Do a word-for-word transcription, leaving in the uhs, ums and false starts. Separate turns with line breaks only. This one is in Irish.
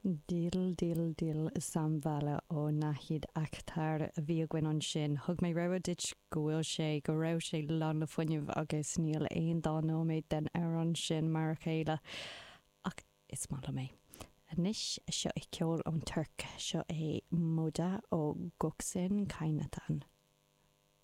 Dil Dil Dil Sambala ó Nahid Akhtar a bhí againn ansin. Thug mé rabhadh duit go bhfuil sé go raibh sé lán le fuinneamh agus níl aon dá nóiméad den amhrán sin mar a chéile ach is maith liom é. Anois seo é ceol ón Tuirc seo é Moda ó Göksin Kaynatan.